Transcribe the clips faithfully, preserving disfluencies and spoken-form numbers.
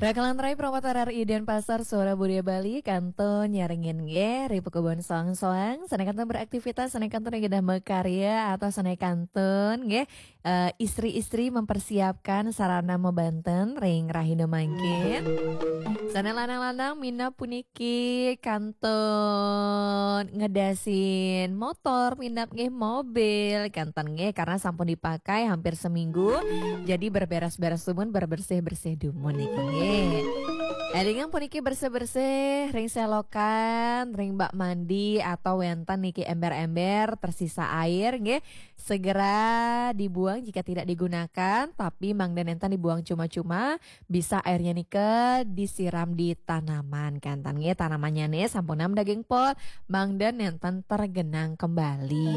Rakalan rai Promotor R I Denpasar, Suara Budaya Bali, kantun nyarengin nggih, ri pakubon soang-soang, sané kantun beraktivitas, sané kantun nggih dah makarya, atau sané kantun nggih, eh, istri-istri mempersiapkan sarana mabanten ring rahina mangkin. Sané lanang-lanang minab puniki kantun ngedasin motor, minab nggih mobil, kantun nggih, karena sampun dipakai hampir seminggu. Jadi berberes-beres dumun, berbersih-bersih dumun niki nggih. Élingang puniki bersih-bersih ring selokan, ring bak mandi atau wénten niki ember-ember tersisa air nggih. Segera dibuang jika tidak digunakan, tapi mangda nénten dibuang cuma-cuma, bisa airnya nika disiram di tanaman, kantun nggih, tanamannya nih sampun nam daging pot, mangda nénten tergenang kembali.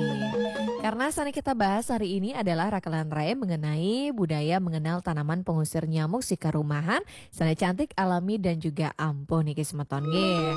Karena sané kita bahas hari ini adalah rakalan rai mengenai budaya mengenal tanaman pengusir nyamuk sikarumahan, sané cantik, alami, dan juga ampuh niki semeton nggih.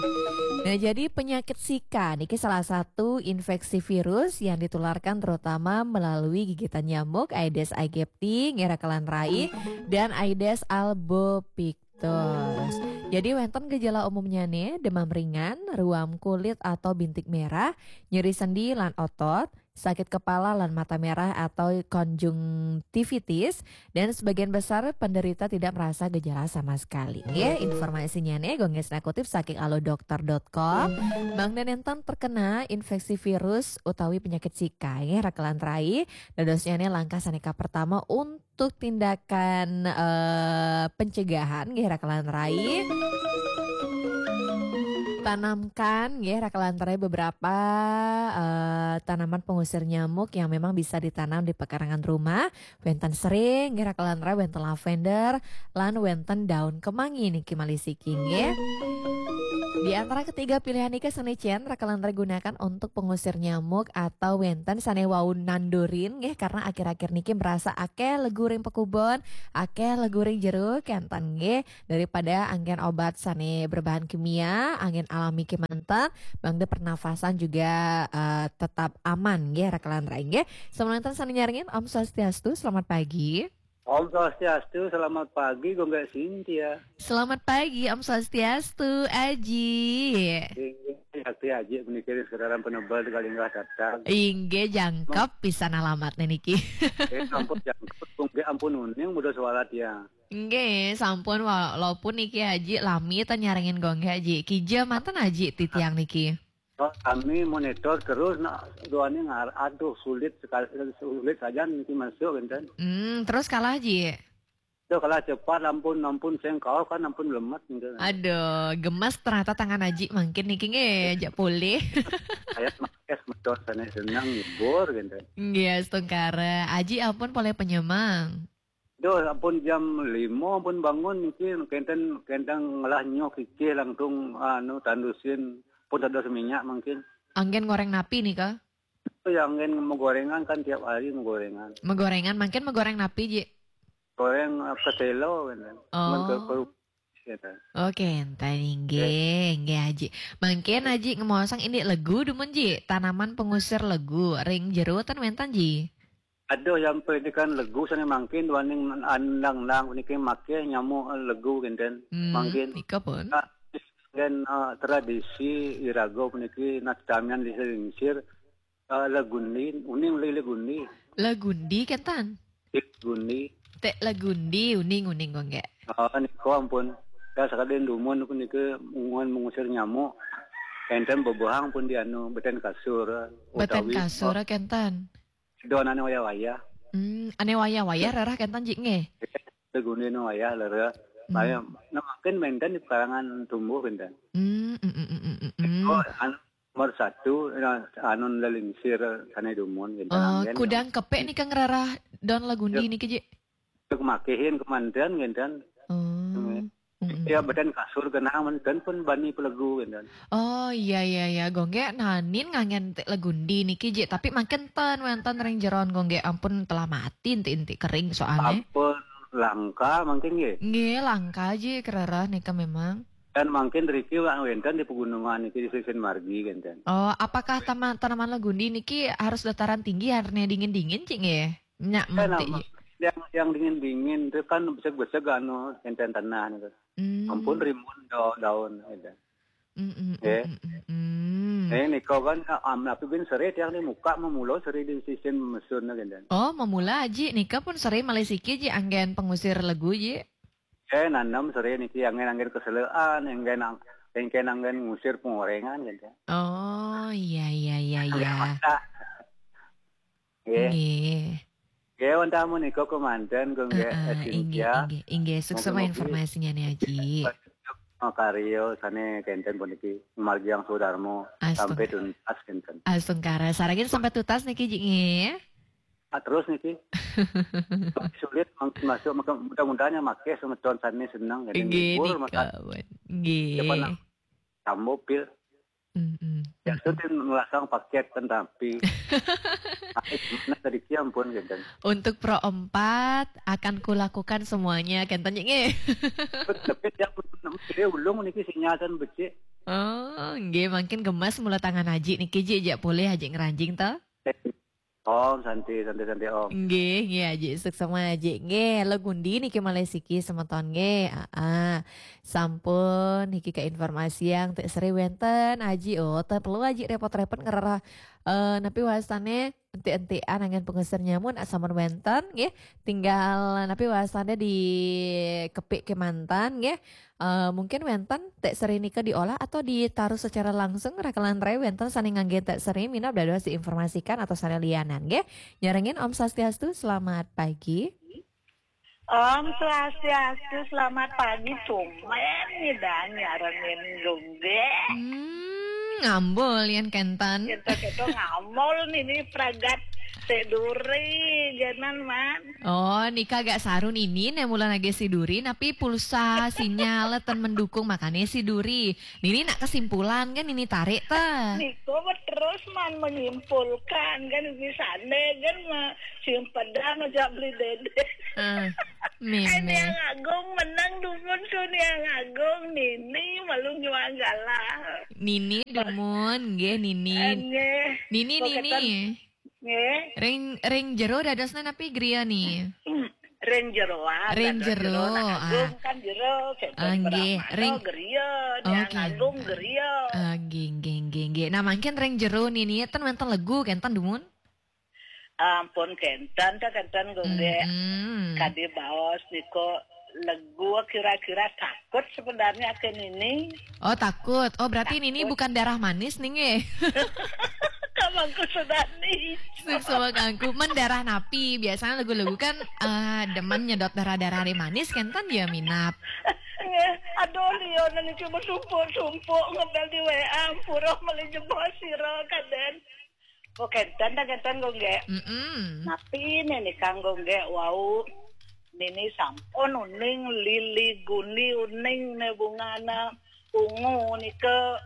Nah, jadi penyakit Zika niki salah satu infeksi virus yang ditularkan terutama melalui gigitan nyamuk Aedes aegypti nggih rakalan rai dan Aedes albopictus. Jadi wénten gejala umumnya nih, demam ringan, ruam kulit atau bintik merah, nyeri sendi lan otot, sakit kepala lan mata merah atau konjungtivitis, dan sebagian besar penderita tidak merasa gejala sama sekali. Nggih, informasinya nih, Gung Gesna kutip saking alodokter dot com. Mangda nénten terkena infeksi virus utawi penyakit Zika, nggih, rakalan rai, dadosnya nih langkah sané kapertama untuk tindakan, eh, pencegahan, nggih, rakalan rai. Tanamkan, nggih, rakalan rai, beberapa, eh, tanaman pengusir nyamuk yang memang bisa ditanam di pekarangan rumah. Wénten sering, nggih, rakalan rai, wénten lavender, lan wénten daun kemangi niki malih siki nggih. Di antara ketiga pilihan niki sané cén rakalan rai gunakan untuk pengusir nyamuk atau wénten sané wau nandurin nggih, karena akhir-akhir niki merasa akéh legu ring pakubon, akéh legu ring jero, kantun nggih. Daripada anggén obat sané berbahan kimia, anggén alami kémanten, mangda pernafasan juga, eh, tetap aman nggih, rakalan rai nggih. Sané nénten sané nyarengin, Om Swastiastu, selamat pagi. Om Swastiastu, selamat pagi, Gung Gé Cynthia. Selamat pagi, Om Swastiastu, Aji. Inggih, Sakti Aji puniki ring Sekitaran Penebel di Kalingga Tatak. Inggih, jangkep pisan alamatnya niki. Eh, ampun, jangkep, Gung Gé, ampun uning, mudah suara tiang. Nggih, sampun, walaupun niki Aji lami tan nyarengin Gung Gé Aji. Kija manten Aji titiang niki. Oh, kami monitor terus, nak, duaning ngar-, aduh, sulit sekali, sulit saja niki masuk, enten. Hmm, terus kalah, Ji? Duh, kalah cepat, ampun, ampun, sing kalah kan, ampun, lemet, gitu. Aduh, gemes ternyata tangan Aji mangkin niki nggih, jak pulih. Saya makes motor sana senang, nyebur, gitu. Nggih, astungkara. Aji ampun polih penyemang. Duh, ampun jam lima ampun bangun niki, kenten, kenten ngelah nyuh kikih langsung, anu, tandusin, pun dados minyak mangkin. Anggén goreng napi nika? Itu yang anggén magorengan kan tiap hari magorengan. Magorengan, mangkin magoreng napi, Ji? Goreng, eh, ketelo, kan. Oh. Cuman ke, ke, gitu. Oke, enten inggih, inggih, Aji. Mangkin Aji ngemaosang indik legu dumun, Ji, tanaman pengusir legu, ring jero ten wénten, Ji? Aduh, yang pendidikan legu sana mangkin duaning andang-andang puniki maké nyamuk legu kenten. Hmm, mangkin. Nika pun. Ah, dan, eh, tradisi iraga puniki nastamian di lingsir, eh, legundi, uning le-, legundi. Legundi kenten? Legundi. Ték legundi, uning, uning, Gung Gé. Ah, nika ampun. Ya, sakadin dumun puniki munguan mengusir nyamuk. Enten bebehang pun di anu, beten kasur, beten utawi, kasur, eh, kenten. Don ané wayah-wayah. Hmm, ané wayah-wayah rerah kenten, Ji, nggih? Legundi ané wayah rerah. Hmm. Nah, mangkin menten di pekarangan tumbuh kenten. Hmm, mm, mm, mm, mm, mm. Oh, an-, nomor satu, nah, anun lelingsir sané dumun kenten. Oh, anggén. Kudang kepék nika ngrerah don legundi niki, Ji? Untuk makéhin kemanten kenten. Oh. Hmm. Mm-mm. Ya, beten kasur genah, menten pun bani pelegu, kenten. Oh, iya, iya, iya. Gung Gé nanin nganggén ték legundi niki, Ji. Tapi mangkin ten wénten ring jeron, Gung Gé, ampun telah mati, enti-enti kering soalnya. Ampun langka mangkin, nggih. Nggih, langka, Ji, kerereh nika memang. Dan mangkin riki wak wénten di pegunungan niki di sisin margi, kenten. Oh, apakah tama-, tanaman legundi niki harus dataran tinggi, arné dingin-dingen, Ji, nggih? Nyak, eh, mantik, nama-, Ji. Yang, yang dingin-dingin itu kan beseg-beseg anu, enten tanah itu. Hmm. Ampun rimbun da-, daun gitu. Mm, mm, Eh. mm, mm, mm. Eh, niko kan, am, tapi bin seri tiang di muka memulo seri di sisin mesun gitu. Oh, mamula Aji, nika pun seri malih siki Ji anggen pengusir legu Ji. Eh, nanem seri niki anggen-anggen keselean, anggen ang-, anggen anggen ngusir pengorengan gitu. Oh, iya iya iya iya. Masak. Nggih. Nggih. Nggih, wonten menika kemanten kangge Heeh, inggih Cynthia. inggih inggih. Suksema Mugi-mugi informasinya nih Aji. Makarya sane kenten puniki margi yang sudarma Astaga. sampai tuntas kenten. Astungkara, saragin sampai tuntas niki Ji nggih. Ah, terus niki sulit mangkin masuk, maka mudah-mudahan yang make semeton sane seneng kenten Nggih libur, maka nika. Nggih. Depan sambo pil. Mm-mm. Ya sudah melasang paket kan tapi. Tapi gimana tadi ki ampun kenten. Untuk Pro empat akan kulakukan semuanya kenten Ji nggih. Tapi yang dia ulung niki sinyal dan becik. Oh, nggih mangkin gemas mula tangan Aji niki Ji, jak boleh Aji ngeranjing to. Om santi santi santi om. Nggih, nggih Aji, suksema Aji. Nggih, lo gundi niki malih siki semeton nggih. Aa, sampun niki ke informasi yang tek seri wenten Aji. Oh, tak perlu Aji repot-repot ngererah eh napi wastane enti-entian anggen pengusir nyamuk nak sampun wenten nggih. Tinggal napi wastane di kepik kemanten nggih. Eh, mungkin wenten tek seri nika diolah atau ditaruh secara langsung rakelan rai wenten sane ngangge tek seri minab dados diinformasikan atau sane lianan nggih. Nyarengin Om Swastiastu, selamat pagi. Om Swastiastu, selamat pagi. Tumben nih dah nyarengin gungge. Hmm, ngambul yen kenten. Kita kita ngamol nih nih pragat seduri janan man. Oh, nika agak saru nini ne mula nage siduri, napi pulsa sinyal ten mendukung makane siduri. Nini nak kesimpulan kan nini tarik ta. Niko terus man menyimpulkan kan di sana kan ma simpedang aja beli dede. Ah, Ini yang meme. agung menang dumun tu ni yang agung nini malu nyuang galah. Nini dumun, nggih nini. Nggih. Nini Kok nini. ketan- Nggih. Ring ring jero dadosna napi griya ni? Ring jeroan. Ring Ada jero, Nah, ah. Agung kan jero. Ketan Ah, nggih. Brahmana Ring Griya, yang Oke. Agung Griya. Ah, nggih nggih nggih nggih. Nah, mangkin ring jero nini ten wenten legu kenten dumun. Ampun kenten ta kenten gungge. Hmm. Kadi baos niko legu kira-kira takut sebenarnya ke nini. Oh, takut. Oh, berarti nini bukan darah manis nih nggih. Kamangku sudah nih. Suksma kangku mendarah napi. Biasanya lagu-lagu kan eh, demen nyedot darah-darah ri manis kenten ya minap. Nggih, aduh liyo niki sumpuk-sumpuk ngebel di W A ampura meli jebos sira kaden. Kok kenten ta kenten gungge. Mm-mm. Napi ne nika gungge wau nini sampun uning lili guni uning ne bungana ungu nika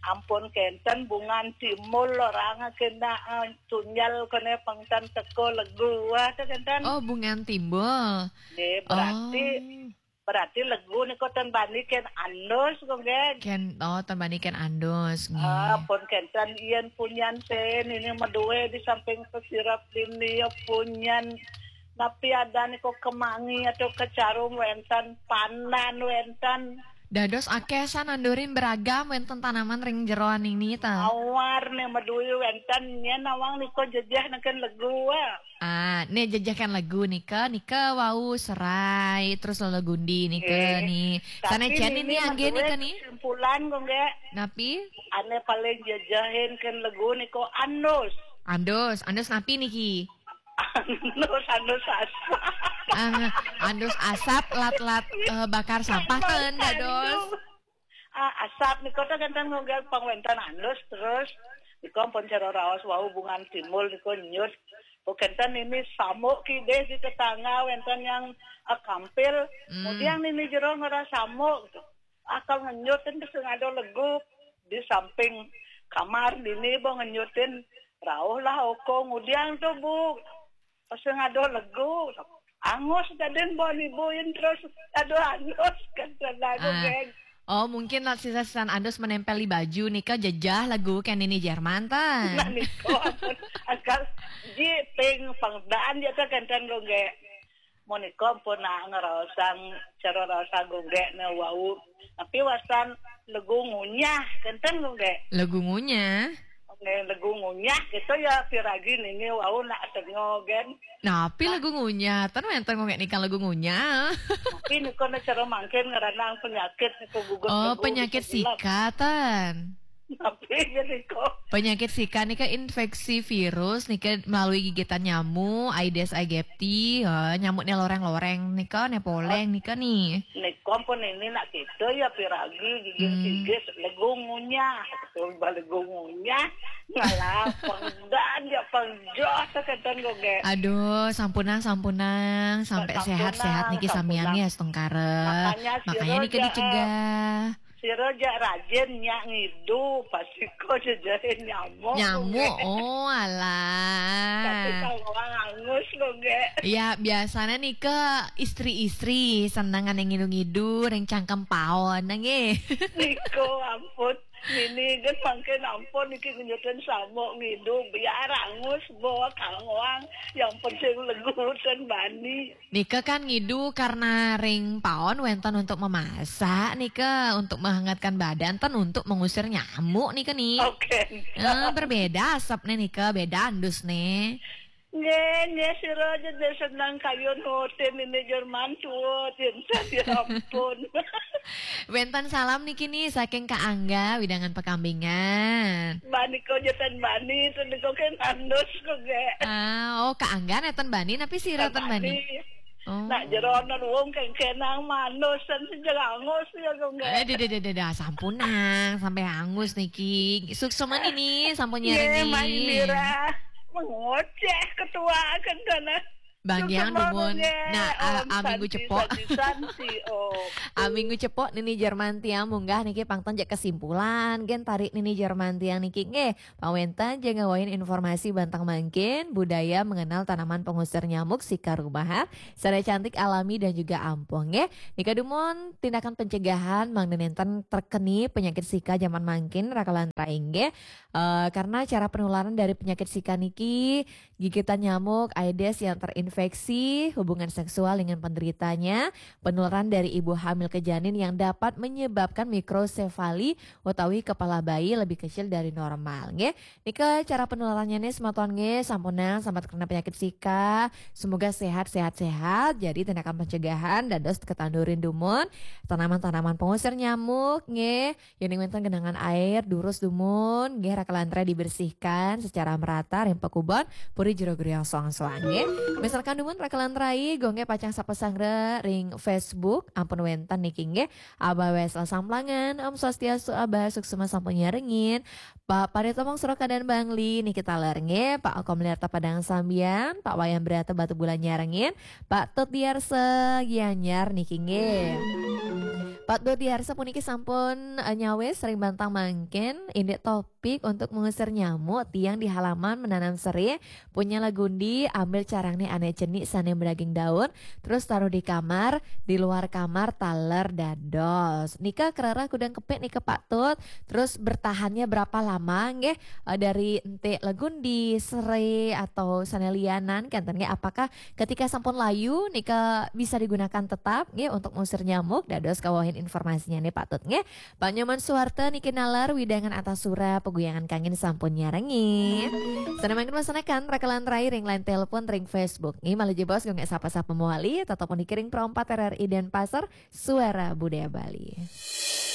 ampun kenten bungan timul orang kena eh, tunjal kene pengtan teko legu wah ta kenten. Oh, bungan timbul. Nggih, berarti Oh. Berarti legu nika ten bani ken andus gungge. Ken oh ten bani ken andus nggih. Ah, pun kenten yen punyan sen ini medue di samping pesirap dini ya punyan napi ada niko kemangi atau kecarum wenten pandan wenten. Dados akeh sanandurin beragam wenten tanaman ring jeroan ini ta. Awar ne medue wenten nyen awang niko jejeh neken legu ah. Ah, ne jejeh kan legu nika, nika wau serai terus lolo gundi nika Eh, ni. Sana Tapi jen ini angge medue nika ni. Kesimpulan gungge Napi? Ane paling jejehin ken legu niko andus. Andus, andus napi niki? Andus, andus asap. Ah, andus asap lat-lat eh, bakar sampah kan dados. Ah, asap niko ta kenten ngogel pangwentan andus terus niko pun cara raos wau bungan timul niko nyut. Oh kenten ini samuk kideh di tetangga wenten yang ah, kampil. Hmm. Kemudian ini jero ngera samuk gitu. Akal ngenyutin ke sing ada legu di samping kamar dini bo ngenyutin rauh lah oko ngudiang tu bu. Pas sing ada legu angus tadin bo nibuin terus aduh angus kan lagu Ah. geng. Oh, mungkin lah sisa-sisan andus menempel di baju nika jejah lagu kan ini Jerman ta. Nah niko ampun akal ji ping pangdaan dia tu kenten gongge. Monika ampun nak ngraosang cara rasa Gung Gék né wau. Tapi wastan legu ngunyah, kénten Gung Gék. Legu ngunyah? Nggih, legu ngunyah gitu ya, piragi niki wau nak sengo gén. Napi legu ngunyah? Ten wénten Gung Gék nika legu ngunyah. Tapi nika nak cara mangkin ngranang penyakit nika gugur. Oh, legu penyakit bisa gelap. Sika ten. Tapi ya nika. Penyakit sika nika infeksi virus nika melalui gigitan nyamuk Aedes aegypti, ha, nyamuk né loreng-loreng nika, né poleng nika nih. Nika ampun ini nak kita ya piragi gigir-gigir legu ngunyah. Betul, legu ngunyah. Ngalah pengdan ya pengjoh kénten Gung Gék. Aduh, sampunang, sampunang, sampai sampunang, sehat-sehat niki sampunang. Samian ya, Stengkare. Makanya, makanya niki dicegah. Sira jak rajin nyak ngidu, pasti kok jejehin nyamuk. Nyamuk, oh alah. Tapi kalau orang angus Gung Gék. Ya, biasanya nika istri-istri seneng yang ngidu-ngidu, ring cangkem paon, nggih. Nika ampun. Nini kan mangkin ampun niki ngenjutin samuk ngidu, biar angus bawa kangwang. Yang penting legu ten bani. Nika kan ngidu karena ring paon wénten untuk memasak, nika untuk menghangatkan badan, ten untuk mengusir nyamuk nika nih. Oke. Eh, berbeda asapnya nika, beda andus nih. Nggih, nggih, sira aja deh senang kayun ngoten ini Jerman tuh, cinta ya ampun. Wénten salam niki nih saking Kak Angga, Widangan Pekambingan. Bani kok jeten bani, itu nika kan andus Gung Gék. Ah, oh Kak Angga nénten bani, tapi sira ten bani. Oh. Nak jeronan wong kengkenang manus dan sejelangus ya Gung Gék. Eh, deh, deh, deh, deh, deh, sampunang, sampai angus niki. Suksma niki, sampun nyeri. Nggih, Mas Dira. Mengoceh ketua kan sana. Bang Yang dumun. Nah, a, a minggu cepok. Santi, Santi, oh. A minggu cepok nini Jerman tiang munggah niki pangton jak kesimpulan. Gén tarik nini Jerman tiang niki nggih. Pawénten jeng ngawain informasi bantang mangkin budaya mengenal tanaman pengusir nyamuk sika rumahan. Secara cantik, alami dan juga ampuh nggih. Nika dumun tindakan pencegahan mangda nénten terkeni penyakit sika zaman mangkin raka lan rai nggih. Eh, karena cara penularan dari penyakit sika niki gigitan nyamuk Aedes yang terinfeksi hubungan seksual dengan penderitanya, penularan dari ibu hamil ke janin yang dapat menyebabkan mikrosefali utawi kepala bayi lebih kecil dari normal nggih. Nika cara penularannya nih semeton nggih, sampunang sambat kena penyakit sika. Semoga sehat, sehat, sehat. Jadi tindakan pencegahan dados ketandurin dumun tanaman-tanaman pengusir nyamuk nggih. Yén wénten genangan air, durus dumun nggih raka lan rai dibersihkan secara merata ring pakubon puri jero geriang soang-soang nggih. Misalkan dumun raka lan rai, Gung Gék pacang sapa sangra ring Facebook, ampun wénten niki nggih. Abah Wesel Samplangan, Om Swastiastu Abah, suksma sampun nyarengin. Pak Paritomong Sorokadan Bangli niki taler nggih, Pak Okom Lerta Padang Sambian, Pak Wayan Brata Batu Bulan nyarengin, Pak Tut Diarsa Gianyar niki nggih. Pak Tut Diarsa puniki sampun, eh, nyawis ring bantang mangkin, indik topik untuk mengusir nyamuk tiang di halaman menanam serai, punya Lagundi, ambil carangné ané cenik sané beraging daun, terus taruh di kamar, di luar kamar taler dados. Nika kerereh kudang kepik nika Pak Tut, terus bertahannya berapa lama nggih, eh, dari entik Lagundi, serai atau sané lianan kénten nggih, apakah ketika sampun layu nika bisa digunakan tetap nggih untuk mengusir nyamuk? Dados kawahin informasinya nih Pak Tut nggih. Pak Nyoman Suwarta niki naler widangan atas sura peguyangan kangin sampun nyarengin. Sané mangkin wasanakan raka lan rai ring line telepon ring Facebook. Nggih, malih jebos Gung Gék sapa-sapa mawali, tetep niki ring Pro empat R R I Denpasar, Suara Budaya Bali.